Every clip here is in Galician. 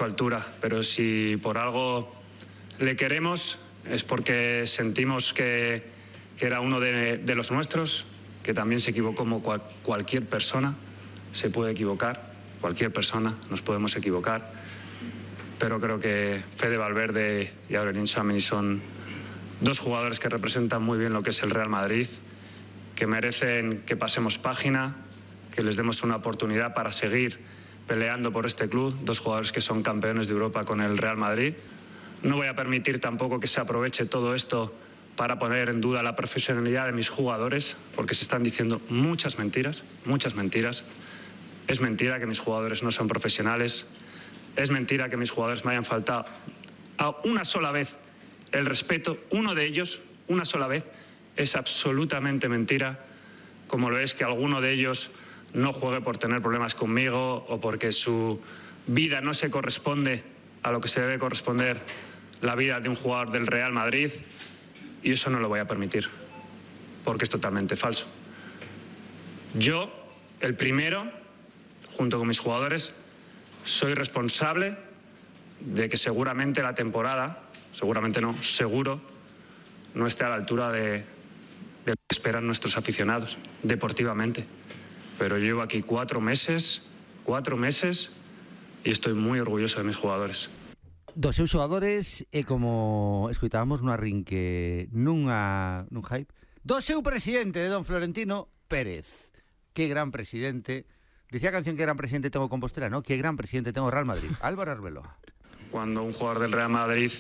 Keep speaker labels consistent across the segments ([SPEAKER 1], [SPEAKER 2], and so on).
[SPEAKER 1] su altura, pero si por algo le queremos es porque sentimos que era uno de los nuestros, que también se equivocó como cualquier persona se puede equivocar, cualquier persona nos podemos equivocar, pero creo que Fede Valverde y Aurelien Tchouaméni son dos jugadores que representan muy bien lo que es el Real Madrid, que merecen que pasemos página, que les demos una oportunidad para seguir peleando por este club, dos jugadores que son campeones de Europa con el Real Madrid. No voy a permitir tampoco que se aproveche todo esto para poner en duda la profesionalidad de mis jugadores, porque se están diciendo muchas mentiras, muchas mentiras. Es mentira que mis jugadores no son profesionales, es mentira que mis jugadores me hayan faltado a una sola vez el respeto, uno de ellos, una sola vez. Es absolutamente mentira, como lo es que alguno de ellos no juegue por tener problemas conmigo o porque su vida no se corresponde a lo que se debe corresponder la vida de un jugador del Real Madrid, y eso no lo voy a permitir, porque es totalmente falso. Yo, el primero, junto con mis jugadores, soy responsable de que seguramente la temporada, seguramente no, seguro, no esté a la altura de lo que esperan nuestros aficionados, deportivamente. Pero llevo aquí 4 meses, e estou moi orgulloso de mis jugadores.
[SPEAKER 2] Dos seus xogadores e como escoitábamos no arrinque nun hype do seu presidente, de don Florentino Pérez. Que gran presidente. Decía a canción que gran presidente tengo Compostela, ¿no? Que gran presidente tengo Real Madrid. Álvaro Arbeloa.
[SPEAKER 1] Cuando un jugador del Real Madrid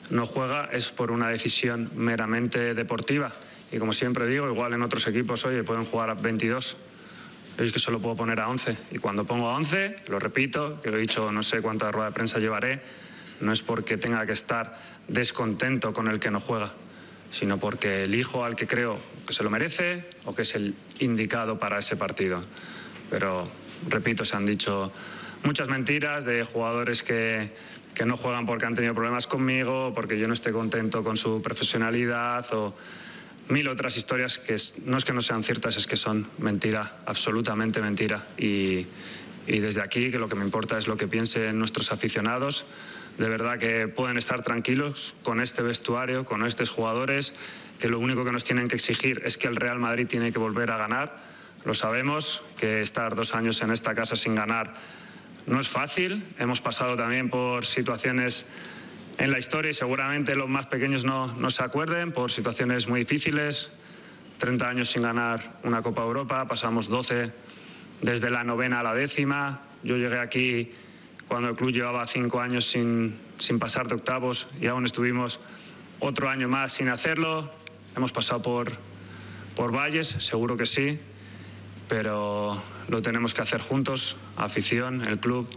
[SPEAKER 1] no juega es por una decisión meramente deportiva. Y como siempre digo, igual en otros equipos, oye, pueden jugar a 22. Es que solo puedo poner a 11. Y cuando pongo a 11, lo repito, que lo he dicho, no sé cuánta rueda de prensa llevaré, no es porque tenga que estar descontento con el que no juega, sino porque elijo al que creo que se lo merece o que es el indicado para ese partido. Pero, repito, se han dicho muchas mentiras de jugadores que no juegan porque han tenido problemas conmigo, porque yo no esté contento con su profesionalidad o 1000 otras historias que no es que no sean ciertas, es que son mentira, absolutamente mentira. Y desde aquí, que lo que me importa es lo que piensen nuestros aficionados. De verdad que pueden estar tranquilos con este vestuario, con estos jugadores, que lo único que nos tienen que exigir es que el Real Madrid tiene que volver a ganar. Lo sabemos, que estar 2 años en esta casa sin ganar no es fácil. Hemos pasado también por situaciones en la historia y seguramente los más pequeños no se acuerden, por situaciones muy difíciles. 30 años sin ganar una Copa Europa, pasamos 12 desde la 9ª a la 10ª. Yo llegué aquí cuando el club llevaba 5 años sin pasar de octavos y aún estuvimos otro año más sin hacerlo. Hemos pasado por valles, seguro que sí, pero lo tenemos que hacer juntos, afición, el club.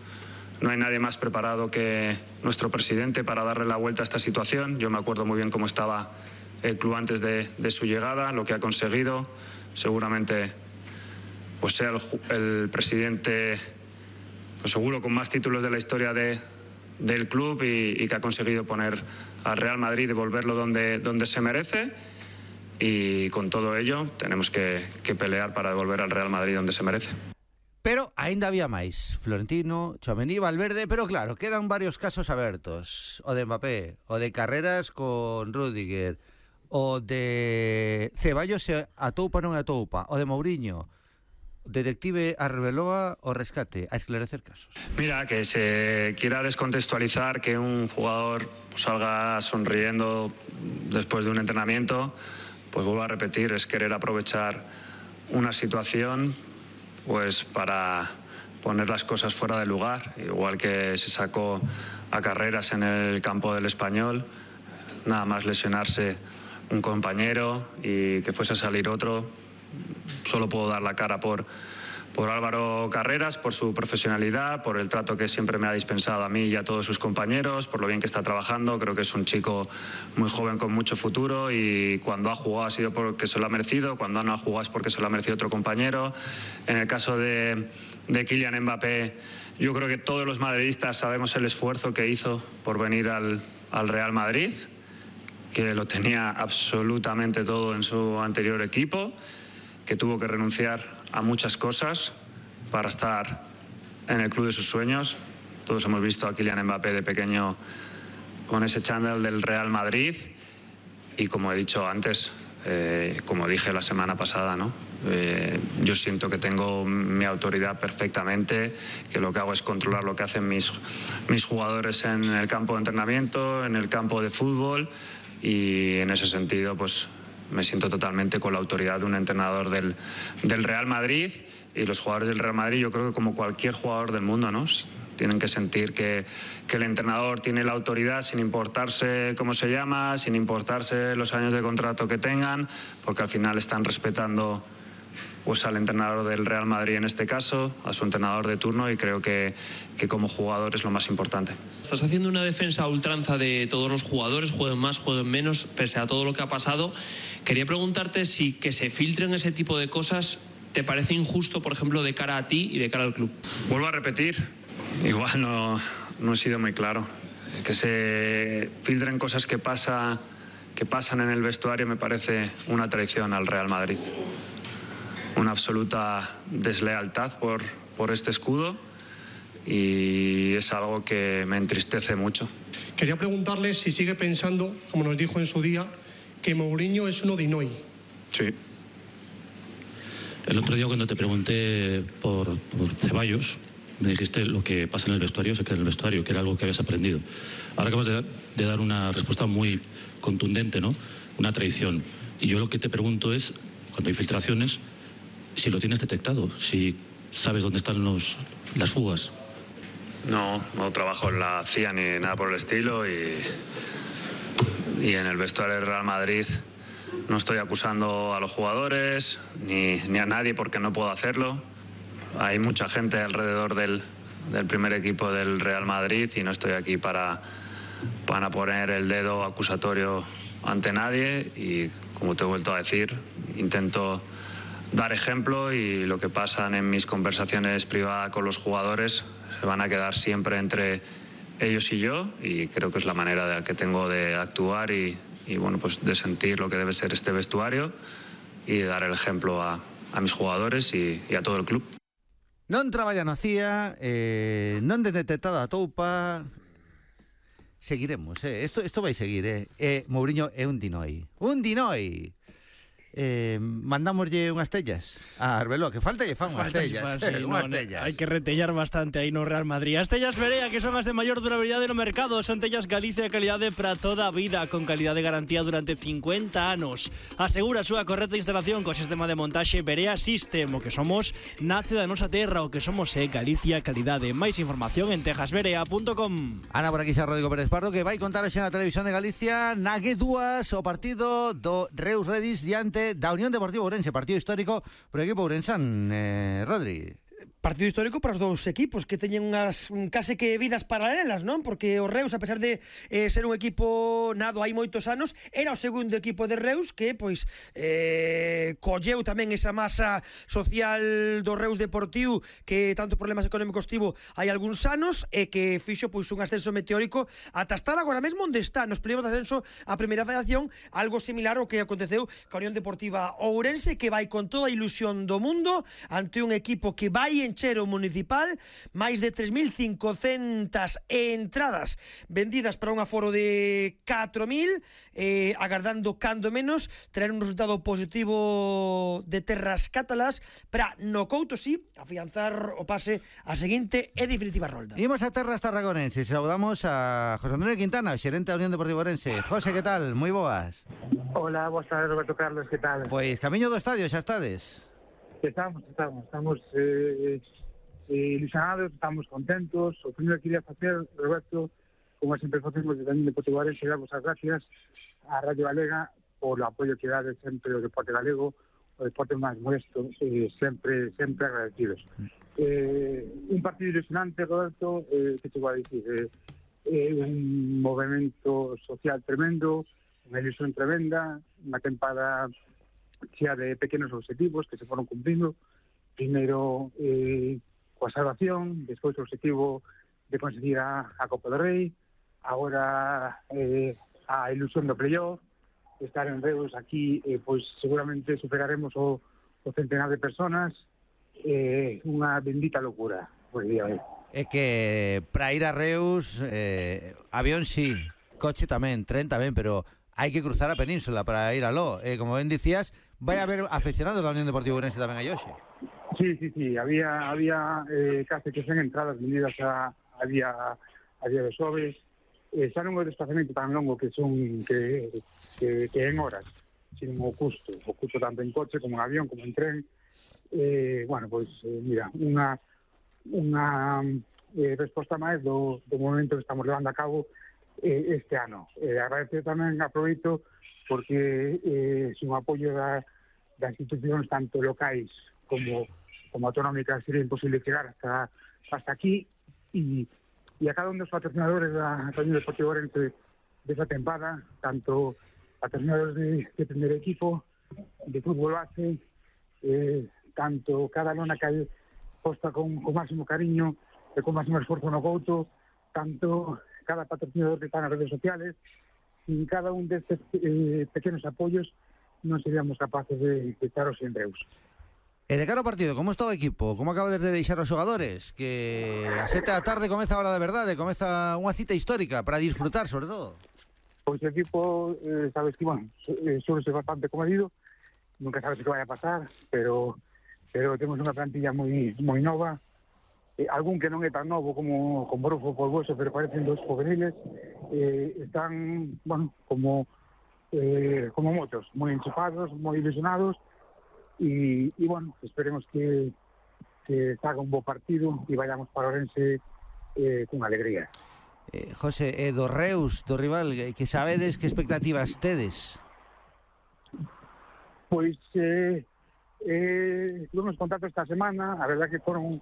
[SPEAKER 1] No hay nadie más preparado que nuestro presidente para darle la vuelta a esta situación. Yo me acuerdo muy bien cómo estaba el club antes de su llegada, lo que ha conseguido. Seguramente pues sea el presidente, pues seguro, con más títulos de la historia del club y que ha conseguido poner al Real Madrid y devolverlo donde se merece. Y con todo ello tenemos que pelear para devolver al Real Madrid donde se merece.
[SPEAKER 2] Pero aínda había máis. Florentino, Tchouaméni, Valverde, pero claro, quedan varios casos abertos. O de Mbappé, o de Carreras con Rüdiger, o de Ceballos se atoupa non atoupa, o de Mourinho. Detective Arbeloa, o rescate, a esclarecer casos.
[SPEAKER 1] Mira, que se quiera descontextualizar que un jugador salga sonriendo después de un entrenamiento, pues vuelvo a repetir, es querer aprovechar una situación pues para poner las cosas fuera de lugar, igual que se sacó a Carreras en el campo del Español, nada más lesionarse un compañero y que fuese a salir otro. Solo puedo dar la cara por Álvaro Carreras, por su profesionalidad, por el trato que siempre me ha dispensado a mí y a todos sus compañeros, por lo bien que está trabajando. Creo que es un chico muy joven con mucho futuro y cuando ha jugado ha sido porque se lo ha merecido, cuando no ha jugado es porque se lo ha merecido otro compañero. En el caso de Kylian Mbappé, yo creo que todos los madridistas sabemos el esfuerzo que hizo por venir al Real Madrid, que lo tenía absolutamente todo en su anterior equipo, que tuvo que renunciar a muchas cosas para estar en el club de sus sueños. Todos hemos visto a Kylian Mbappé de pequeño con ese chándal del Real Madrid y, como he dicho antes, como dije la semana pasada, ¿no? Yo siento que tengo mi autoridad perfectamente, que lo que hago es controlar lo que hacen mis jugadores en el campo de entrenamiento, en el campo de fútbol, y en ese sentido pues me siento totalmente con la autoridad de un entrenador del Real Madrid. Y los jugadores del Real Madrid, yo creo que como cualquier jugador del mundo, ¿no?, tienen que sentir que el entrenador tiene la autoridad sin importarse cómo se llama, sin importarse los años de contrato que tengan, porque al final están respetando pues al entrenador del Real Madrid en este caso, a su entrenador de turno, y creo que como jugador es lo más importante.
[SPEAKER 3] Estás haciendo una defensa a ultranza de todos los jugadores, jueguen más, jueguen menos, pese a todo lo que ha pasado. Quería preguntarte si que se filtren ese tipo de cosas te parece injusto, por ejemplo, de cara a ti y de cara al club.
[SPEAKER 1] Vuelvo a repetir, igual no he sido muy claro. Que se filtren cosas que pasan en el vestuario me parece una traición al Real Madrid. Una absoluta deslealtad por este escudo, y es algo que me entristece mucho.
[SPEAKER 4] Quería preguntarle si sigue pensando, como nos dijo en su día, que Mourinho es uno de Inoi.
[SPEAKER 1] Sí.
[SPEAKER 5] El otro día, cuando te pregunté por Ceballos, me dijiste lo que pasa en el vestuario se queda en el vestuario, que era algo que habías aprendido. Ahora acabas de dar una respuesta muy contundente, ¿no? Una traición. Y yo lo que te pregunto es, cuando hay filtraciones, si lo tienes detectado, si sabes dónde están las fugas.
[SPEAKER 1] No trabajo en la CIA ni nada por el estilo, y en el vestuario del Real Madrid no estoy acusando a los jugadores ni a nadie, porque no puedo hacerlo. Hay mucha gente alrededor del primer equipo del Real Madrid y no estoy aquí para poner el dedo acusatorio ante nadie, y como te he vuelto a decir, intento dar ejemplo, y lo que pasan en mis conversaciones privadas con los jugadores se van a quedar siempre entre ellos y yo, y creo que es la manera que tengo de actuar y bueno, pues de sentir lo que debe ser este vestuario y de dar el ejemplo a mis jugadores y a todo el club.
[SPEAKER 2] Non traballa na CIA, non de detectado a toupa. Seguiremos, Esto vai seguir, Mourinho é un dinoi. Un dinoi. Mandámoslle unhas tellas a Arbeló, que falta lle fan unhas tellas, unhas tellas.
[SPEAKER 6] Hai que retellar bastante aí no Real Madrid. As tellas Berea, que son as de maior durabilidade no mercado, son tellas Galicia de calidade para toda a vida, con calidade de garantía durante 50 anos. Asegura a súa correcta instalación co sistema de montaxe Berea System. O que somos nace da nosa terra, o que somos é Galicia calidade. Máis información en tejasberea.com.
[SPEAKER 2] Ana, por aquí xa Rodrigo Pérez Pardo, que vai contar hoxe na televisión de Galicia na G2 o partido do Reus Redis diante da Unión Deportiva Ourense, partido histórico para o equipo ourensán, Rodri.
[SPEAKER 7] Partido histórico para os dous equipos, que teñen unhas case que vidas paralelas, non? Porque o Reus, a pesar de ser un equipo nado hai moitos anos, era o segundo equipo de Reus que pois colleu tamén esa masa social do Reus Deportivo, que tanto problemas económicos tivo hai algúns anos, e que fixo pois un ascenso meteórico ata estar agora mesmo onde está, nos primeros de ascenso a primeira federación, algo similar ao que aconteceu ca Unión Deportiva Ourense, que vai con toda a ilusión do mundo ante un equipo que vai encher o municipal, máis de 3.500 entradas vendidas para un aforo de 4.000, agardando cando menos traer un resultado positivo de terras cátalas para no Couto, sí, afianzar o pase a seguinte e definitiva rolda.
[SPEAKER 2] Imos a terras tarragonenses, saudamos a José Antonio Quintana, xerente da Unión Deportiva Ourense. José, que tal? Moi boas.
[SPEAKER 8] Hola, boas tardes, Roberto Carlos, que tal?
[SPEAKER 2] Pois camiño do estadio, xa estades?
[SPEAKER 8] Estamos ilusionados, estamos contentos. O primeiro que quería facer, Roberto, como sempre facemos desde a Unión Deportiva Ourense, darvos as gracias á Radio Galega por o apoio que dade sempre o deporte galego, o deporte máis modesto, sempre agradecidos. Un partido ilusionante, Roberto, que te vou a dicir, un movimento social tremendo, unha ilusión tremenda, unha tempada chea de pequenos objetivos que se foron cumprindo. Primeiro coa salvación, despois o objetivo de conseguir a Copa do Rei, agora a ilusión do playoff, estar en Reus aquí, pois seguramente superaremos o centenar de personas, unha bendita locura, pois día.
[SPEAKER 2] é que para ir a Reus, avión sí, coche tamén, tren tamén, pero hai que cruzar a península para ir aló. Como ben dicías, vai haber aficionados da Unión Deportiva Ourense tamén a hoxe.
[SPEAKER 8] Sí, había case que 100 entradas venidas a día de xoves. Xa non é o desplazamento tan longo que en horas, sino o custo tanto en coche como en avión, como en tren. Mira, unha resposta máis do momento que estamos levando a cabo este ano. Agradecer tamén, aproveito, porque é un apoio das institucións tanto locais como autonómicas. Sería imposible chegar hasta aquí, e a cada un dos patrocinadores da Unión Deportiva Ourense desa tempada, tanto patrocinadores de primer equipo, de fútbol base, tanto cada lona que hai posta con máximo cariño e con máximo esforzo no Couto, tanto cada patrocinador que está nas redes sociales. Sin cada un destes pequenos apoios non seríamos capaces de estar hoxe en Reus.
[SPEAKER 2] E de cara ao partido, como está o equipo? Como acabas de deixar os xogadores? Que a 7 da tarde comeza a hora da verdade, comeza unha cita histórica para disfrutar, sobre todo.
[SPEAKER 8] Pois o equipo, sabes que, suele ser bastante comedido, nunca sabes o que vai a pasar, pero temos unha plantilla moi nova, algún que non é tan novo como Brufo Polvoso, pero parecen dos juveniles, están, como motos, moi enchufados, moi ilusionados, e esperemos que haga un bo partido e vayamos para Ourense con alegría.
[SPEAKER 2] José, do Reus, do rival, que sabedes que expectativas tedes?
[SPEAKER 8] Pois tuvemos contacto esta semana, a verdad que foron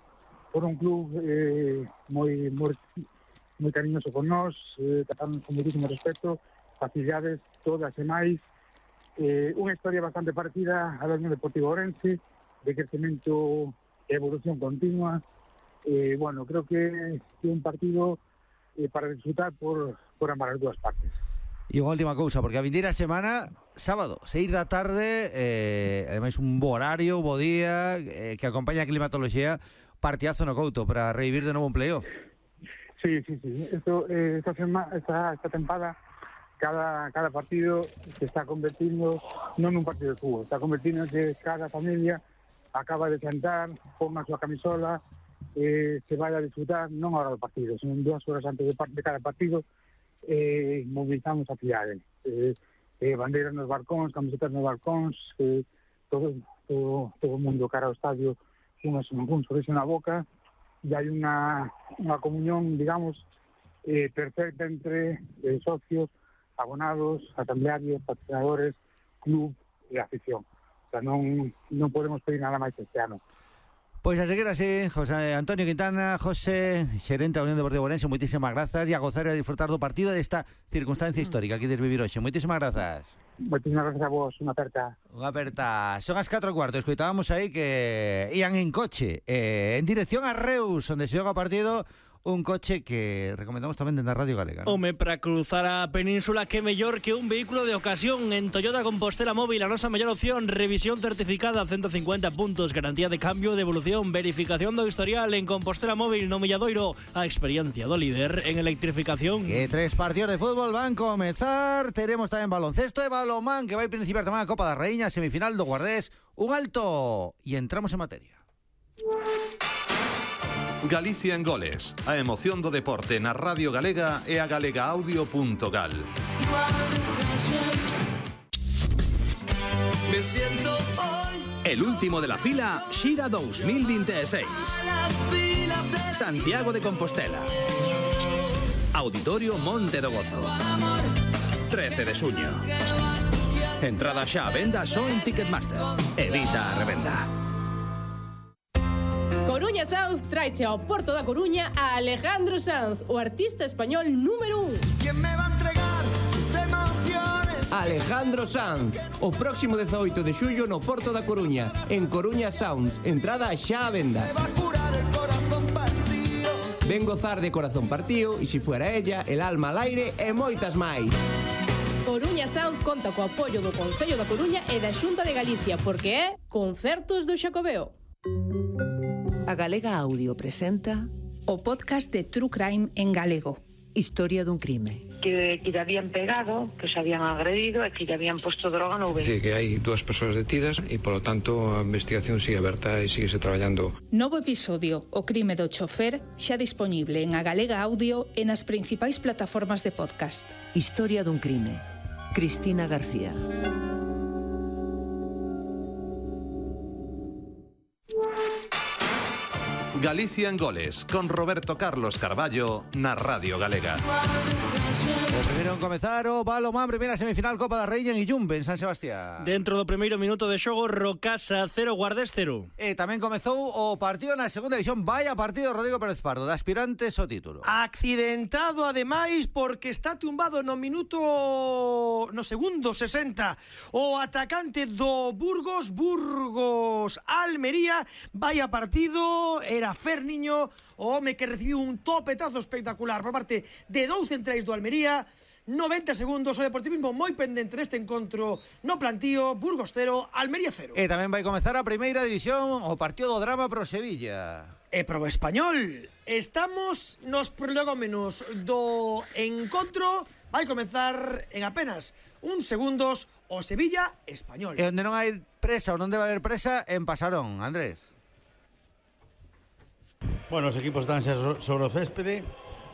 [SPEAKER 8] un club moi cariñoso con nós, tratamos con muchísimo respeto, facilidades todas e máis, unha historia bastante parecida a la Unión Deportiva Ourense, de crecemento e evolución continua. Creo que é un partido para disfrutar por ambas as dúas partes.
[SPEAKER 2] E unha última cousa, porque a vindeira semana, sábado, 6 da tarde, ademais un bo horario, un bo día, que acompaña a climatoloxía, partidazo no Couto para revivir de novo un playoff.
[SPEAKER 8] Sí. Esta tempada, cada partido se está convertindo non nun partido de fútbol, está convertindo que cada familia acaba de sentar, pon a súa camisola, se vai a disfrutar non a hora do partido, son 2 horas antes de cada partido, movilizamos a cidade, bandeiras nos balcóns, camisetas nos balcóns, todo o mundo cara ao estadio un sorriso na boca, e hai unha comunión, digamos, perfecta entre socios, abonados, asamblearios, patrocinadores, club e afición. O sea, non podemos pedir nada máis este ano.
[SPEAKER 2] Pois a seguir así, José Antonio Quintana, José, xerente da Unión Deportiva Ourense, moitísimas grazas, e a gozar e a disfrutar do partido desta circunstancia histórica que desvivir hoxe. Moitísimas grazas.
[SPEAKER 8] Moitísimas grazas a vos, unha aperta.
[SPEAKER 2] Unha aperta. Son as 4:15, escoitábamos aí que ian en coche en dirección a Reus, onde se xoga o partido. Un coche que recomendamos tamén dentro da Radio Galega, ¿no?
[SPEAKER 6] Home, para cruzar a península, que mellor que un vehículo de ocasión. En Toyota Compostela Móvil, a nosa mellor opción. Revisión certificada, 150 puntos, garantía de cambio, devolución, verificación do historial. En Compostela Móvil, no Milladoiro, a experiencia do líder en electrificación.
[SPEAKER 2] Que 3 partidos de fútbol van comezar. Teremos tamén baloncesto e balonmán, que vai principiar tamén a Copa da Raíña, semifinal do Guardés. Un alto e entramos en materia.
[SPEAKER 9] Galicia en goles, a emoción do deporte na Radio Galega e a galegaaudio.gal.
[SPEAKER 10] El último de la fila, Xira 2026. Santiago de Compostela. Auditorio Monte do Gozo. 13 de xuño. Entrada xa a venda só en Ticketmaster. Evita a revenda.
[SPEAKER 11] Coruña Sounds traeche ao Porto da Coruña a Alejandro Sanz, o artista español número 1.
[SPEAKER 12] ¿Quién me va a entregar sus emociones? Alejandro Sanz, o próximo 18 de xullo no Porto da Coruña, en Coruña Sounds, entrada xa a venda. Ven gozar de Corazón Partido, e se fuera ella, El alma al aire e moitas máis.
[SPEAKER 11] Coruña Sound conta co apoio do Concello da Coruña e da Xunta de Galicia, porque é Concertos do Xacobeo.
[SPEAKER 13] A Galega Audio presenta o podcast de True Crime en galego.
[SPEAKER 14] Historia dun crime.
[SPEAKER 15] Que lle habían pegado, que se habían agredido e que lle habían posto droga no
[SPEAKER 16] Sí, que hai 2 persoas detidas e, polo tanto, a investigación sigue aberta e sigue traballando.
[SPEAKER 13] Novo episodio, O crime do chofer, xa disponible en A Galega Audio e nas principais plataformas de podcast.
[SPEAKER 14] Historia dun crime. Cristina García.
[SPEAKER 9] Galicia en Goles, con Roberto Carlos Carballo na Radio Galega.
[SPEAKER 2] O primeiro en comezar o balonmán, primeira semifinal Copa da Raíña en Illumbe, en San Sebastián.
[SPEAKER 6] Dentro do primeiro minuto de xogo, Rocasa 0, Guardés 0.
[SPEAKER 2] E tamén comezou o partido na segunda división. Vaya partido Rodrigo Pérez Pardo, de aspirantes ao título.
[SPEAKER 7] Accidentado, ademais, porque está tumbado no segundo 60 o atacante do Burgos Almería. Vaya partido, era Ferniño, o home que recibiu un topetazo espectacular por parte de 2 centrais do Almería. 90 segundos, o deportivismo moi pendente deste encontro no plantío. Burgos 0, Almería 0.
[SPEAKER 2] E tamén vai comezar a primeira división, o partido do drama pro Sevilla.
[SPEAKER 7] E pro Español. Estamos nos prolegómenos do encontro. Vai comezar en apenas uns segundos o Sevilla Español.
[SPEAKER 2] E onde non hai presa ou non debe haber presa, en Pasarón, Andrés.
[SPEAKER 17] Bueno, os equipos están sobre o céspede,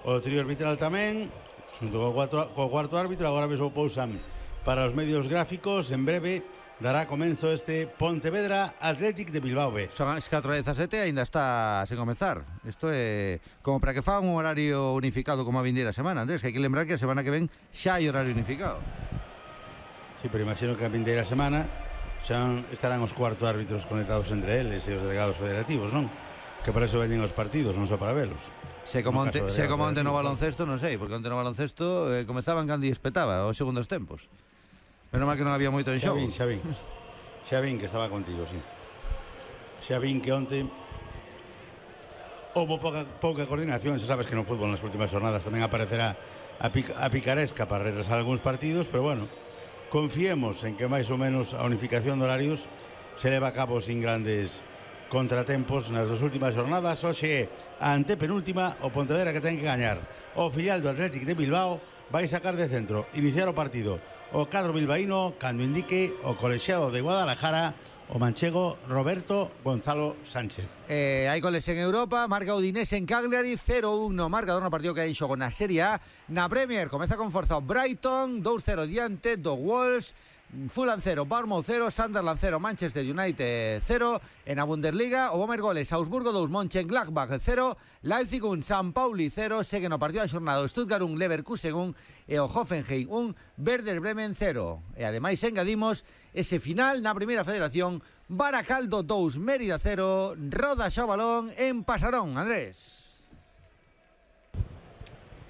[SPEAKER 17] o trío arbitral tamén, xunto co cuarto árbitro. Agora mesmo pousan para os medios gráficos. En breve dará comenzo este Pontevedra Athletic de Bilbao B.
[SPEAKER 2] Son as 4:17, ainda está sen comezar. Isto é como para que fagan un horario unificado como a vindeira semana, Andrés, que hai que lembrar que a semana que ven xa hai horario unificado.
[SPEAKER 17] Sí, pero imagino que a vindeira semana xa estarán os cuarto árbitros conectados entre eles e os delegados federativos, non? Que para eso veñen os partidos, non só para velos.
[SPEAKER 2] Se como onte no baloncesto, non sei, porque onte no baloncesto comezaban cando espetaba os segundos tempos. Menos mal que non había moito en xogo.
[SPEAKER 17] Xa vin que estaba contigo, sí. Xa vin que onte houve pouca coordinación. Xa sabes que no fútbol nas últimas jornadas tamén aparecerá a picaresca para retrasar algúns partidos, pero bueno, confiemos en que máis ou menos a unificación de horarios se leva a cabo sin grandes contratempos nas dos últimas jornadas. Hoxe a antepenúltima, o Pontevedra que ten que gañar. O filial do Athletic de Bilbao vai sacar de centro, iniciar o partido o cadro bilbaíno cando indique o colexiado de Guadalajara, o manchego Roberto Gonzalo Sánchez.
[SPEAKER 2] Hai goles en Europa, marca Udinese en Cagliari, 0-1 no marcador no partido que hai en xogo na Serie A. Na Premier comeza con forza o Brighton, 2-0 diante do Wolves. Fulham 0, Bournemouth 0, Sunderland 0, Manchester United 0. En a Bundesliga, o Bomer goles, Augsburgo 2, Mönchengladbach 0, Leipzig 1, San Pauli 0. Segue no partido da xornada o Stuttgart 1, Leverkusen 1 e o Hoffenheim 1, Werder Bremen 0. E ademais engadimos ese final na primeira federación, Baracaldo 2, Mérida 0. Roda xa o balón en Pasarón, Andrés.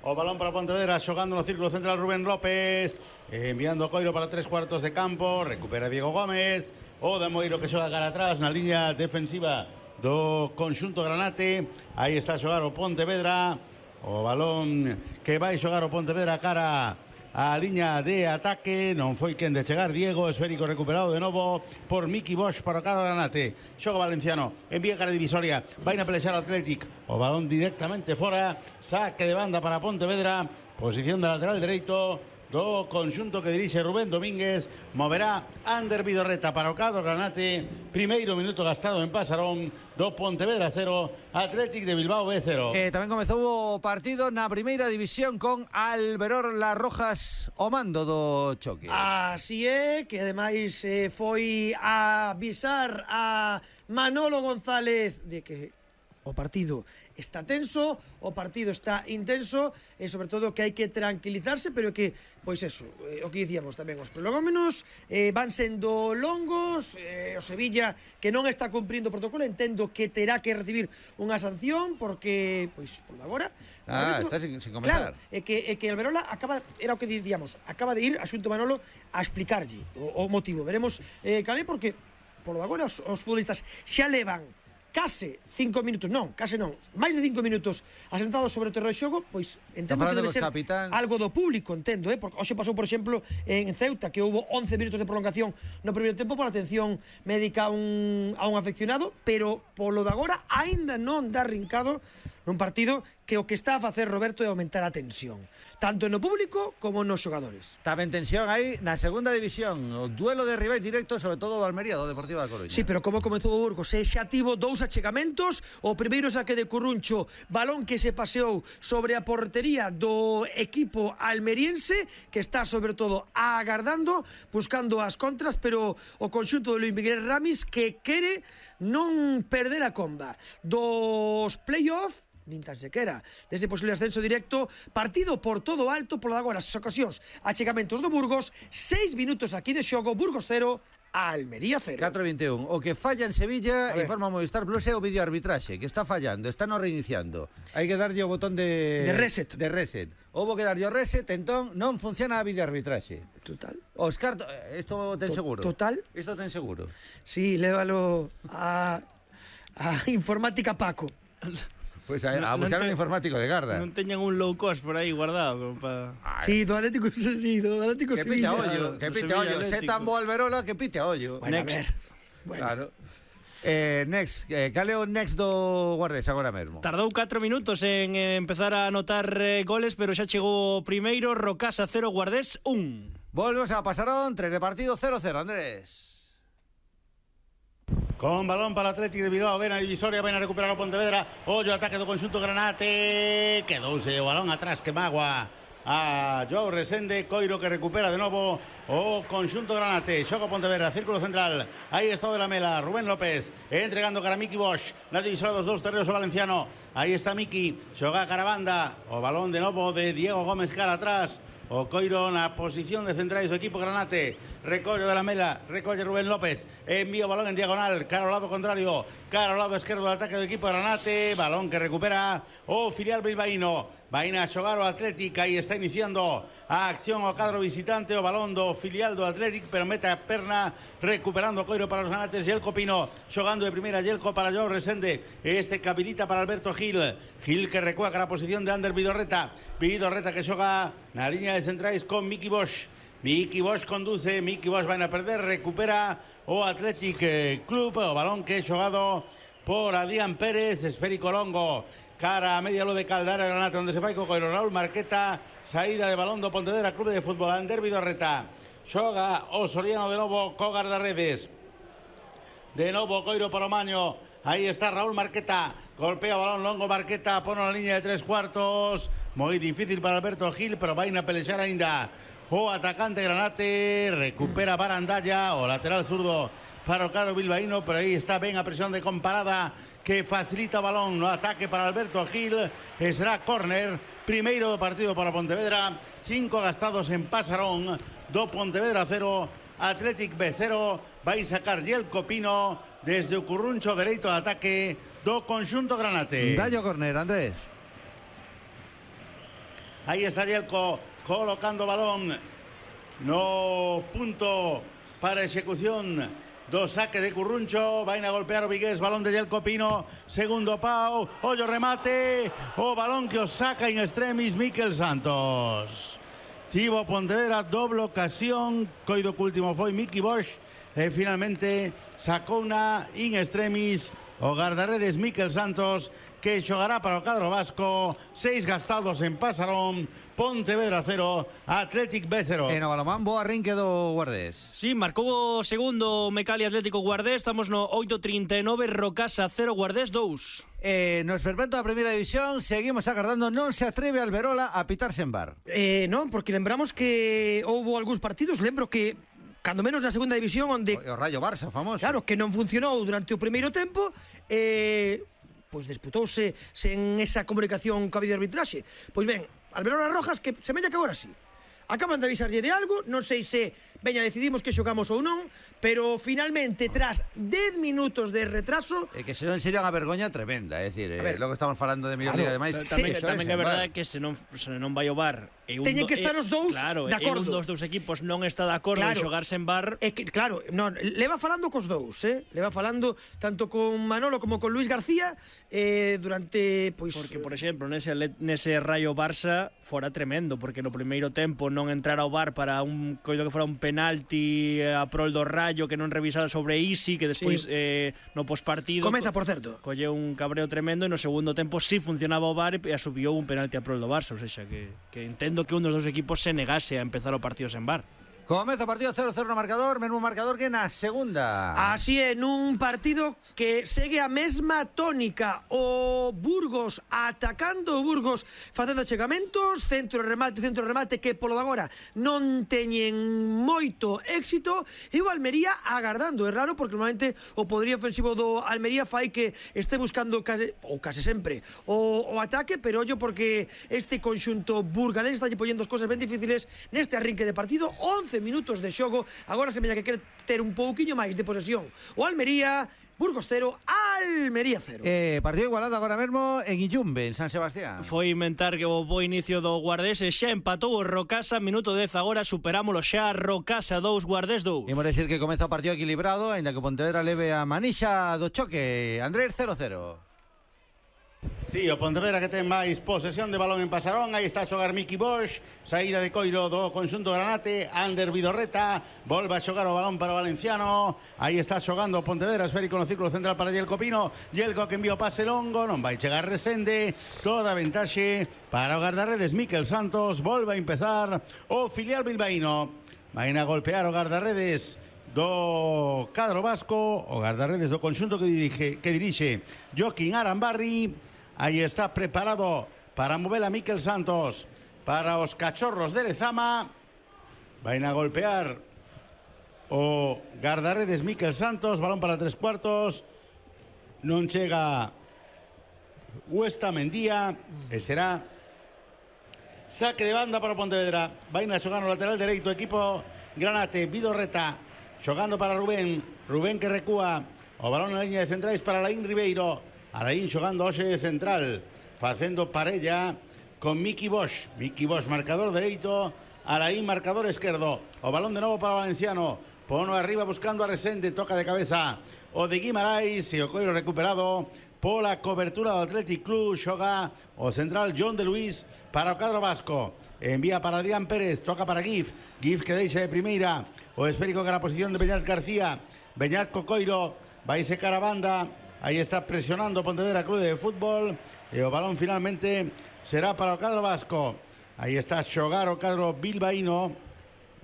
[SPEAKER 17] O balón para Pontevedra, xogando no círculo central Rubén López, enviando Coiro para 3/4 de campo, recupera Diego Gómez, o de Moiro que xoga cara atrás na liña defensiva do conxunto granate. Aí está a xogar o Pontevedra, o balón que vai xogar o Pontevedra cara a liña de ataque. Non foi quen de chegar Diego, esférico recuperado de novo por Miki Bosch para o cadro granate. Xoga Valenciano, envía cara divisoria, vai na pelexar o Athletic, o balón directamente fora, saque de banda para Pontevedra, posición de lateral dereito do conxunto que dirixe Rubén Domínguez. Moverá Ander Vidorreta para o cadro granate. Primeiro minuto gastado en Pasarón do Pontevedra 0, Athletic de Bilbao B 0.
[SPEAKER 2] Tamén comezou o partido na primeira división con Alberor Las Rojas o mando do choque.
[SPEAKER 7] Así é, que ademais foi a avisar a Manolo González de que o partido está tenso, o partido está intenso e sobre todo que hai que tranquilizarse, pero que, pois eso, o que dicíamos tamén, os prolegómenos van sendo longos. O Sevilla que non está cumprindo o protocolo, entendo que terá que recibir unha sanción porque, pois, por agora
[SPEAKER 2] está sin comenzar.
[SPEAKER 7] Claro, é que Alberola acaba, era o que dicíamos, acaba de ir a Xunto Manolo a explicarlle o motivo. Veremos cal é, porque por agora os futbolistas xa levan case 5 minutos, máis de 5 minutos asentados sobre o terreno de xogo, pois entendo que debe ser algo do público, entendo, porque hoxe pasou, por exemplo, en Ceuta, que houve 11 minutos de prolongación no primeiro tempo por atención médica a un afeccionado, pero polo de agora aínda non dá rincado nun partido que o que está a facer Roberto é aumentar a tensión, tanto no público como nos xogadores.
[SPEAKER 2] Tamén tensión aí na segunda división, o duelo de rivais directos, sobre todo do Almería, do Deportivo da Coruña.
[SPEAKER 7] Sí, pero como comezou o Burgos, xa tivo 2 achegamentos, o primeiro saque de Curruncho, balón que se paseou sobre a portería do equipo almeriense, que está sobre todo agardando, buscando as contras, pero o conxunto de Luis Miguel Ramis que quere non perder a comba dos play-off, nin tan sequera dese posible ascenso directo, partido por todo alto polo de agora as ocasións, achegamentos do Burgos, 6 minutos aquí de xogo, Burgos 0, Almería 0.
[SPEAKER 2] 4-21. O que falla en Sevilla, informa Movistar Plus, é o videoarbitraxe, que está fallando, está no reiniciando. Hai que darlle o botón de
[SPEAKER 7] reset.
[SPEAKER 2] Houbo que darlle o reset, entón non funciona a videoarbitraxe.
[SPEAKER 7] Total.
[SPEAKER 2] Óscar, isto ten seguro.
[SPEAKER 7] Total.
[SPEAKER 2] Isto ten seguro.
[SPEAKER 7] Sí, lévalo a informática Paco.
[SPEAKER 2] Pois a buscar un informático de Garda.
[SPEAKER 6] Non teñan un low cost por aí guardado como para...
[SPEAKER 7] Sí, do Atlético Sevilla.
[SPEAKER 2] Que pite a ollo, que pite a ollo. Se tan bo Alberola, que pite a ollo.
[SPEAKER 7] Next.
[SPEAKER 2] Claro. Next, cal é o next do Guardés agora mesmo?
[SPEAKER 6] Tardou 4 minutos en empezar a anotar goles, pero xa chegou o primeiro, Rocasa 0, Guardés 1.
[SPEAKER 2] Volvemos a Pasarón, 3 de partido, 0-0, Andrés.
[SPEAKER 17] Con balón para Atlético de Bilbao, ven a divisoria, ven a recuperar o Pontevedra, ollo ataque do conxunto Granate, quedouse o balón atrás que magua a Joao Resende, Coiro que recupera de novo o conxunto Granate, xoga Pontevedra, círculo central, aí está o de la Mela, Rubén López, entregando cara a Miki Bosch, na divisoria dos dous terreos o valenciano, aí está Miki, xoga cara a banda, o balón de novo de Diego Gómez cara atrás, o Coiro na posición de centrais do equipo Granate, recollo de la Mela, recolle Rubén López, envía o balón en diagonal, cara ao lado contrario, cara ao lado esquerdo do ataque do equipo Granate, balón que recupera o filial bilbaíno, vaina a xogar o Atlético, aí está iniciando a acción o cadro visitante, o balón do filial do Atlético, pero mete a perna, recuperando o Coiro para os Granates, Yelko Pino, xogando de primeira, Yelko para Joao Resende, este que habilita para Alberto Gil, Gil que recua cara a posición de Ander Vidorreta que xoga na liña de centrais con Miki Bosch, Miki Bosch conduce, Miki Bosch vai a perder, recupera o Athletic Club, o balón que é xogado por Adrián Pérez, esférico longo, cara a media lo de Caldara Granate, onde se fai co Coiro, Raúl Marqueta, saída de balón do Pontevedra Club de Fútbol, Ander Vidorreta, xoga o Soriano de novo co guardarredes, de novo Coiro para o Maño, aí está Raúl Marqueta, golpea o balón longo Marqueta, pone na liña de 3/4, moi difícil para Alberto Gil, pero vai na pelexar aínda o atacante Granate, recupera Barandalla, o lateral zurdo para o cadro bilbaíno, pero aí está ben a presión de Comparada que facilita o balón no ataque para Alberto Gil, e será córner, primeiro do partido para Pontevedra, 5 gastados en Pasarón, do Pontevedra 0, Athletic B 0, vai sacar Yelko Pino desde o curruncho dereito de ataque do conxunto Granate.
[SPEAKER 2] Dallo córner, Andrés.
[SPEAKER 17] Aí está Yelko colocando balón no punto para execución do saque de Curruncho, vai a golpear o Vigués, balón de Yelko Pino, segundo pau, ollo remate, o balón que o saca in extremis Miquel Santos. Tivo Pontevedra doble ocasión, coido que último foi Miki Bosch, e finalmente sacou na in extremis o guardarredes Miquel Santos, que xogará para o cadro vasco, 6 gastados en Pasarón, Pontevedra 0, Athletic B 0.
[SPEAKER 2] E no balomán, bo arrinque do Guardés.
[SPEAKER 6] Sí, marcou o segundo Mecali Atlético Guardés, estamos no 8:39, Rocasa 0, Guardés 2.
[SPEAKER 2] No esperpento da primeira división, seguimos agardando, non se atreve Alberola a pitarse en bar.
[SPEAKER 7] Non, porque lembramos que houve algúns partidos, lembro que cando menos na segunda división onde
[SPEAKER 2] o Rayo Barça famoso.
[SPEAKER 7] Claro, que non funcionou durante o primeiro tempo, pois disputouse sen esa comunicación coa videoarbitraxe. Pois ben, Alberola Rojas, que se mella que agora sí. Acaban de avisarlle de algo, non sei se veña decidimos que xogamos ou non, pero finalmente tras 10 minutos de retraso,
[SPEAKER 2] que se non sería unha vergoña tremenda, é dicir, logo estamos falando de mellor liga de máis.
[SPEAKER 6] Tamén é verdade que se non vai o VAR,
[SPEAKER 7] teñen que estar os dous de acordo.
[SPEAKER 6] Un dos equipos non está de acordo en xogarse en VAR.
[SPEAKER 7] Claro, non, leva falando cos dous, leva falando tanto con Manolo como con Luis García durante, pois...
[SPEAKER 6] Porque, por exemplo, nese Rayo Barça fora tremendo, porque no primeiro tempo non entrar ao VAR para un coido que fora un penalti a prol do Rayo que non revisara sobre Isi, que despois no pospartido
[SPEAKER 7] comeza, por certo,
[SPEAKER 6] colle un cabreo tremendo e no segundo tempo sí funcionaba o VAR e asubiu un penalti a prol do Barça, ou seja, que entendo que un dos dos equipos se negase a empezar o partido sen VAR.
[SPEAKER 2] Comeza o partido 0-0 no marcador, mesmo marcador que na segunda.
[SPEAKER 7] Así é, nun partido que segue a mesma tónica. O Burgos atacando, o Burgos facendo chegamentos, centro remate que polo de agora non teñen moito éxito, e o Almería agardando. É raro porque normalmente o poderío ofensivo do Almería fai que este buscando case sempre o ataque, pero ollo porque este conxunto burgalés está lle poñendo as cosas ben difíciles neste arrinque de partido. 11 minutos de xogo, agora se meña que quere ter un pouquiño máis de posesión o Almería. Burgos 0, Almería 0.
[SPEAKER 2] Partido igualado agora mesmo en Illumbe, en San Sebastián.
[SPEAKER 6] Foi inventar que o bo inicio do Guardés e xa empatou o Rocasa, minuto 10 agora, superámolo xa, Rocasa 2, Guardés 2.
[SPEAKER 2] Imos decir que comeza o partido equilibrado, aínda que Pontevedra leve a manixa do choque. Andrés 0-0.
[SPEAKER 17] Sí, o Pontevedra que ten máis posesión de balón en Pasarón. Aí está a xogar Miki Bosch. Saída de coiro do conxunto Granate. Ander Vidorreta volve a xogar o balón para o valenciano. Aí está xogando o Pontevedra, esférico no círculo central para Yelko Pino. Yelko que envía o pase longo, non vai chegar Resende. Toda ventaxe para o guardarredes Miquel Santos. Volve a empezar o filial bilbaíno. Vai a golpear o guardarredes do cadro vasco, o guardarredes do conxunto que dirixe Joaquín Arambarri. Aí está preparado para mover a Miquel Santos para os cachorros de Lezama. Vai a golpear o guardarredes Miquel Santos, balón para 3/4. Non chega Huesta Mendía e será saque de banda para Pontevedra. Vai a xogar no lateral dereito equipo Granate. Vidorreta xogando para Rubén que recúa o balón na liña de centrais para Alain Ribeiro. Alain xogando hoxe de central, facendo parella con Miki Bosch. Miki Bosch marcador dereito, Alain marcador esquerdo. O balón de novo para o valenciano, pono arriba buscando a Resende, toca de cabeza o de Guimarães e o coiro recuperado pola cobertura do Athletic Club. Xoga o central John de Luis para o cadro vasco. Envía para Adrián Pérez, toca para Gif que deixa de primeira o esférico que era a posición de Beñat García. Beñat co coiro, vai secar a banda. Aí está presionando Pontevedra Club de Fútbol e o balón finalmente será para o cadro vasco. Aí está a xogar o cadro bilbaíno,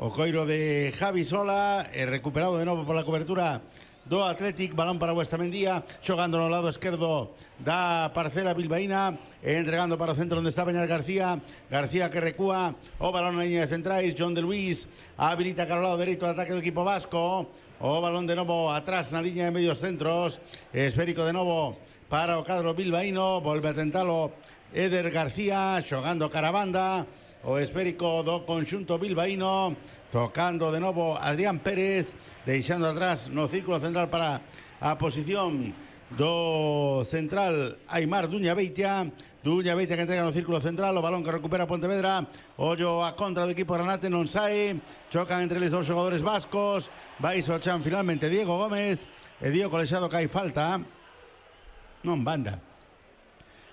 [SPEAKER 17] o coiro de Javi Sola, e recuperado de novo pola cobertura do Athletic. Balón para Huesta Mendía, xogando no lado esquerdo da parcela bilbaína e entregando para o centro onde está Beñat García. García que recúa, o balón na liña de centrais. John de Luis habilita cara ao lado dereito o ataque do equipo vasco. O balón de novo atrás na liña de medios centros. Esférico de novo para o cadro bilbaíno. Volve a tentalo Eder García, xogando cara a banda. O esférico do conxunto bilbaíno. Tocando de novo Adrián Pérez, deixando atrás no círculo central para a posición do central Aimar Duña Beitia que entrega no círculo central, o balón que recupera Pontevedra. Ollo a contra do equipo Granate, non sae, chocan entre eles dos xogadores vascos. Vai Sochan finalmente Diego Gómez e Diego Colexado que hai falta. Non banda.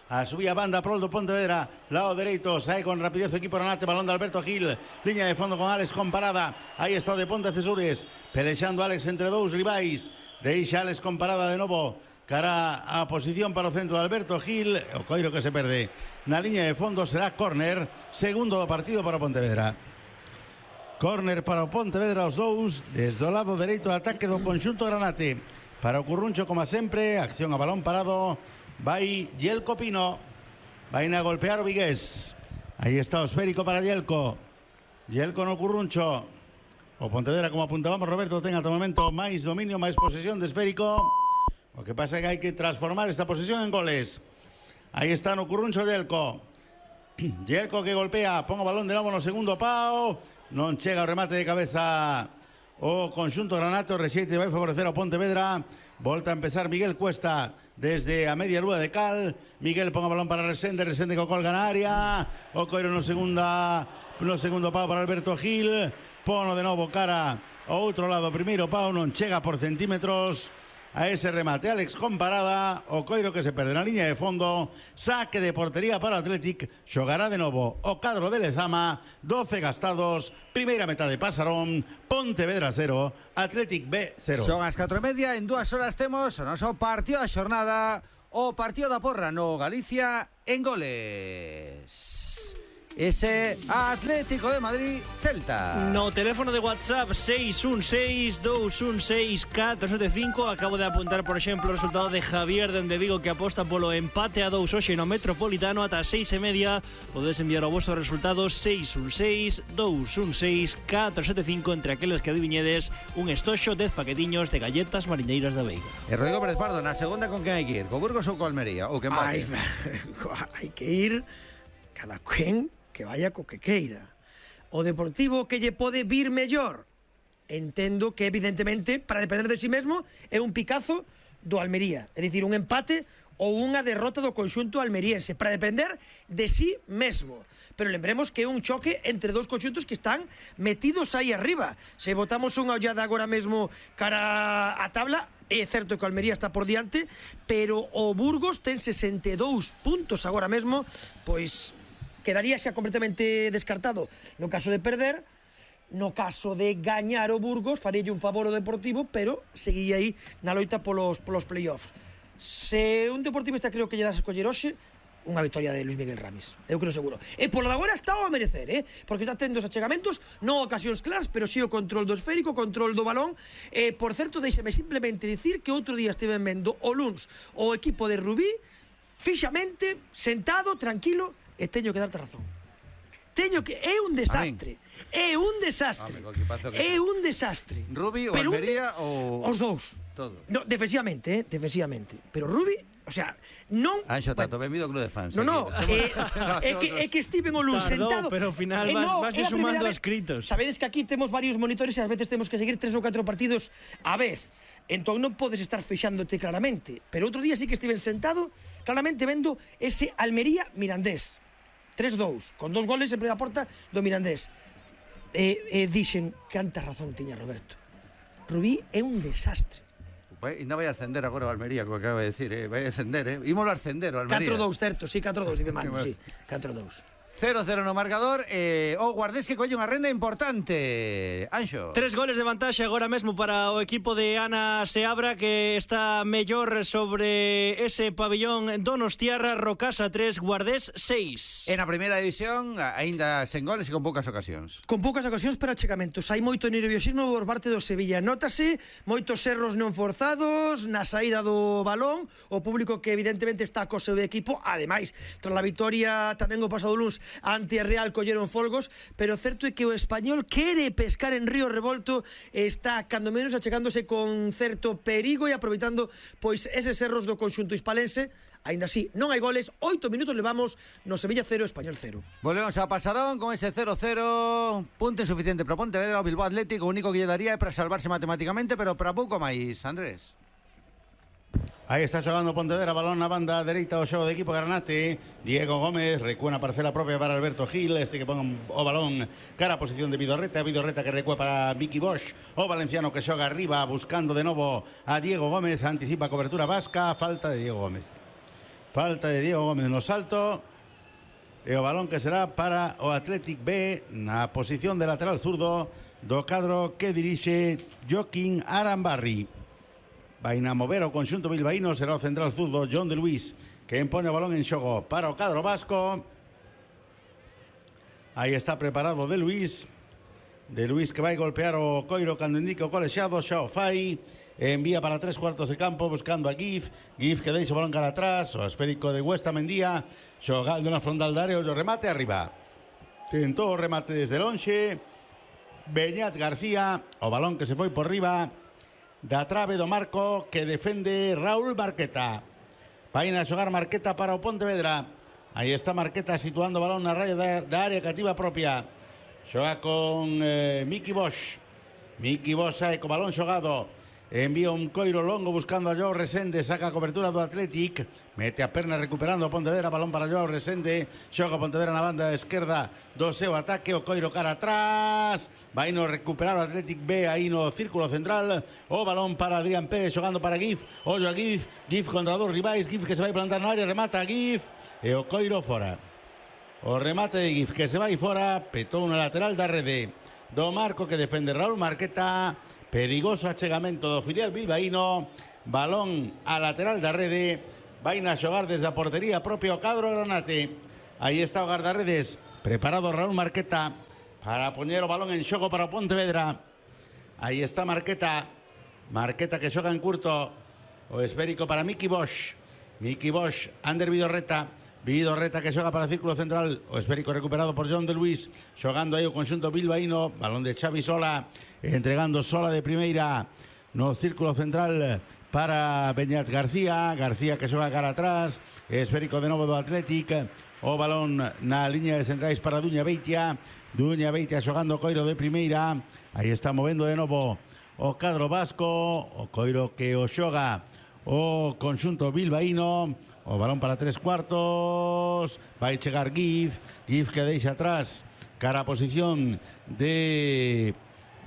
[SPEAKER 17] A subía banda prol do Pontevedra, lado dereito, sae con rapidez o equipo Granate, balón de Alberto Gil, liña de fondo con Alex comparada. Aí está o de Ponte Cesures, pelexando Alex entre dous rivais. Deixa Alex comparada de novo, cara a posición para o centro de Alberto Gil. O coiro que se perde na liña de fondo será córner, segundo do partido para o Pontevedra. Córner para o Pontevedra, os dous, desde o lado dereito, ataque do conxunto Granate. Para o Curruncho, como sempre, acción a balón parado. Vai Yelko Pino, vai a golpear o Vigués. Aí está o esférico para Yelko. Yelko no Curruncho. O Pontevedra, como apuntábamos, Roberto, ten ata o momento máis dominio, máis posesión de esférico. O que pasa é que hai que transformar esta posesión en goles. Aí está no Curruncho Yelko. Yelko que golpea, pon o balón de novo no segundo pau. Non chega o remate de cabeza o conxunto Granate. O rexeite vai favorecer ao Pontevedra. Volta a empezar Miguel Cuesta desde a media lúa de cal. Miguel pon o balón para Resende co colga na área. O coiro no segundo pau para Alberto Gil. Pono de novo cara ao outro lado, primeiro pau, non chega por centímetros. a ese remate. Alex con parada, o coiro que se perde na liña de fondo, saque de portería para o Athletic, xogará de novo o cadro de Lezama, 12 gastados, primeira metade pasarón, Pontevedra 0, Athletic B 0.
[SPEAKER 2] Son as 4:30, en 2 horas temos o noso partido da xornada, o partido da porra no Galicia en goles. Ese Atlético de Madrid Celta.
[SPEAKER 6] No teléfono de WhatsApp 616-216-475. Acabo de apuntar, por exemplo, o resultado de Javier dende Vigo, que aposta polo empate a 2 hoxe no Metropolitano. Ata 6:30 podes enviar o vosso resultado 616-216-475 entre aqueles que adiviñedes un estoxo 10 paquetiños de galletas marineiras da Veiga.
[SPEAKER 2] E Rodrigo Pérez Pardo, na segunda con quen hai que ir? Co Burgos ou co Almería? Ou que empate?
[SPEAKER 7] Hai que ir cada quen que vaya co que queira. O Deportivo que lle pode vir mellor. Entendo que, evidentemente, para depender de si mesmo, é un picazo do Almería. É dicir, un empate ou unha derrota do conxunto almeriense, para depender de si mesmo. Pero lembremos que é un choque entre dous conxuntos que están metidos aí arriba. Se botamos unha ollada agora mesmo cara a tabla, é certo que o Almería está por diante, pero o Burgos ten 62 puntos agora mesmo, pois quedaría xa completamente descartado no caso de perder. No caso de gañar o Burgos, farelle un favor ao Deportivo, pero seguiría aí na loita polos playoffs. Se un deportivista creo que lle das a escoller hoxe, unha victoria de Luis Miguel Ramis, eu creo seguro. E polo de agora está a merecer, porque está tendo os achegamentos, non ocasións claras, pero sí o control do esférico, control do balón. Por certo, deixame simplemente dicir que outro día estiven vendo o luns o equipo de Rubí fixamente, sentado, tranquilo, e teño que darte razón. Teño que... É un desastre. É un desastre. É un desastre.
[SPEAKER 2] Rubí ou Almería ou...
[SPEAKER 7] Os dous.
[SPEAKER 2] Todo.
[SPEAKER 7] No, defensivamente, defensivamente. Pero Rubí, o sea, non...
[SPEAKER 2] Anxo, tato, benvido ao club de fans.
[SPEAKER 7] No, é que estiven o luns sentado...
[SPEAKER 6] pero ao final vas sumando escritos.
[SPEAKER 7] Sabedes que aquí temos varios monitores e ás veces temos que seguir 3 ou 4 partidos á vez. Entón non podes estar fixándote claramente. Pero outro día sí que estiven sentado claramente vendo ese Almería Mirandés. 3-2, con 2 goles en primeira porta do Mirandés. Dixen, canta razón tiña Roberto. Rubí é un desastre.
[SPEAKER 2] Ainda vai ascender agora o Almería, como acaba de decir, vai ascender, ímolo ascender o Almería.
[SPEAKER 7] 4-2, certo, sí, 4-2, dice Manu, sí, 4-2.
[SPEAKER 2] 0-0 no marcador, o Guardés que colle unha renda importante. Anxo.
[SPEAKER 6] 3 goles de vantaxe agora mesmo para o equipo de Ana Seabra, que está mellor sobre ese pabellón Donostiarra. Rocasa 3, Guardés 6.
[SPEAKER 2] En a primeira división, aínda sen goles e con poucas ocasións.
[SPEAKER 7] Con poucas ocasións para achegamentos. Hai moito nerviosismo por parte do Sevilla. Nótase moitos erros non forzados na saída do balón. O público que evidentemente está co seu equipo. Ademais, tras a victoria tamén o pasado luns ante a Real colleron folgos, pero certo é que o Español quere pescar en Río Revolto, está cando menos achegándose con certo perigo e aproveitando pois eses erros do conxunto hispalense. Aínda así, non hai goles, 8 minutos levamos no Sevilla 0, Español 0.
[SPEAKER 2] Volvemos a Pasarón con ese 0-0, punto insuficiente para Pontevedra. O Bilbao Atlético, o único que lle daría é para salvarse matemáticamente, pero para pouco máis, Andrés.
[SPEAKER 17] Aí está xogando Pontevedra, balón na banda dereita do xogo de equipo Granate. Diego Gómez recúa na parcela propia para Alberto Gil, este que pon o balón cara a posición de Vidorreta que recúa para Vicky Bosch. O valenciano que xoga arriba buscando de novo a Diego Gómez, anticipa cobertura vasca, falta de Diego Gómez. Falta de Diego Gómez no salto. E o balón que será para o Athletic B na posición de lateral zurdo do cadro que dirixe Joaquín Arambarri. Vai a mover o conxunto bilbaíno, será o central zurdo John de Luis, que impone o balón en xogo para o cadro vasco. Aí está preparado de Luis que vai golpear o coiro cando indica o colexiado, xa o fai, envía para 3 cuartos de campo buscando a Gif que deixa o balón cara atrás, o esférico de Huesta Mendía, xogando na frontal da área, o remate arriba. Tentou o remate desde lonxe, Beñat García, o balón que se foi por riba da trave do marco que defende Raúl Marqueta. Vai a xogar Marqueta para o Pontevedra. Aí está Marqueta situando o balón na raya da área cativa propia. Xoga con Miki Bosch. Miki Bosch sai co balón xogado. envía un coiro longo buscando a Joao Resende, saca a cobertura do Athletic, mete a perna recuperando a Pontevedra, balón para Joao Resende, xoga Pontevedra na banda esquerda do seu ataque, o coiro cara atrás, vai no recuperar o Athletic B aí no círculo central, o balón para Adrián Pérez, xogando para Gif, ollo a Gif contra dos rivais, Gif que se vai plantar na área, remata a Gif, e o coiro fora. O remate de Gif que se vai fora, petou na lateral da rede do Marco que defende Raúl Marqueta. Perigoso achegamento do filial bilbaíno, balón a lateral da rede, vai a xogar desde a portería propio cadro Granate. Aí está o guardarredes, preparado Raúl Marqueta para poñer o balón en xogo para o Pontevedra. Aí está Marqueta que xoga en curto, o esférico para Miki Bosch, Ander Vidorreta que xoga para o círculo central, o esférico recuperado por John de Luis, xogando aí o conxunto bilbaíno, balón de Xavi Sola, entregando Sola de primeira no círculo central para Beñat García que xoga cara atrás, esférico de novo do Athletic, o balón na liña de centrais para Duña Beitia xogando o coiro de primeira, aí está movendo de novo o cadro vasco, o coiro que o xoga o conxunto bilbaíno. O balón para 3/4, vai chegar Gif que deixa atrás cara a posición de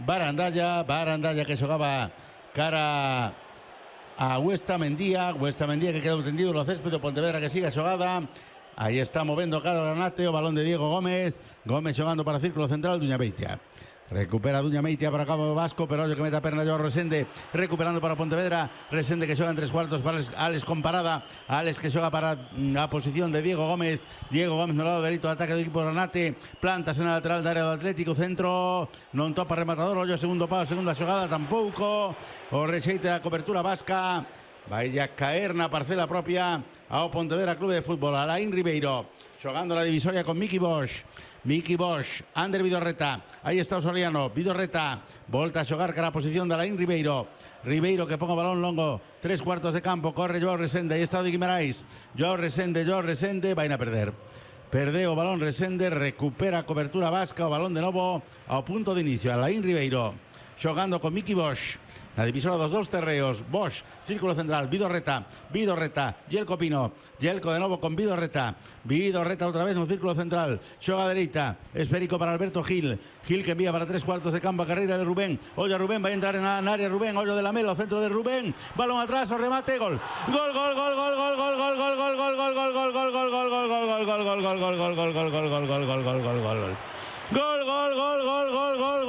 [SPEAKER 17] Barandalla que xogaba cara a Huesta Mendía que quedou tendido no céspede, Pontevedra que sigue a xogada, aí está movendo cada Granate, o balón de Diego Gómez xogando para o círculo central, Duña Beitia. Recupera Duña Beitia para Cabo Vasco, pero ollo que mete a perna Joao Resende, recuperando para Pontevedra, Resende que xoga en 3/4 para Alex con parada, Alex que xoga para a posición de Diego Gómez no lado dereito do ataque do equipo Granate, plantas na lateral da área do Atlético, centro, non topa rematador, ollo segundo pau, segunda xogada tampouco, o rexeite da cobertura vasca, vai a caer na parcela propia ao Pontevedra Clube de Fútbol. Alain Ribeiro xogando na divisoria con Miki Bosch, Ander Vidorreta, aí está o Soriano, Vidorreta volta a xogar cara a posición de Alain Ribeiro que ponga o balón longo, 3/4 de campo, corre Joao Resende, aí está o de Guimarães, Joao Resende, vai a perder o balón Resende, recupera a cobertura vasca, o balón de novo ao punto de inicio, Alain Ribeiro xogando con Miki Bosch na divisora dos dous terreos, Bosch, círculo central, Vidorreta, Yelko Pino, Yelko de novo con Vidorreta outra vez no círculo central, xoga a dereita, esférico para Alberto Gil que envía para 3/4 de campo a carreira de Rubén, ollo a Rubén, vai entrar na área Rubén, ollo de Lamelo, centro de Rubén, balón atrás, o remate, gol, gol,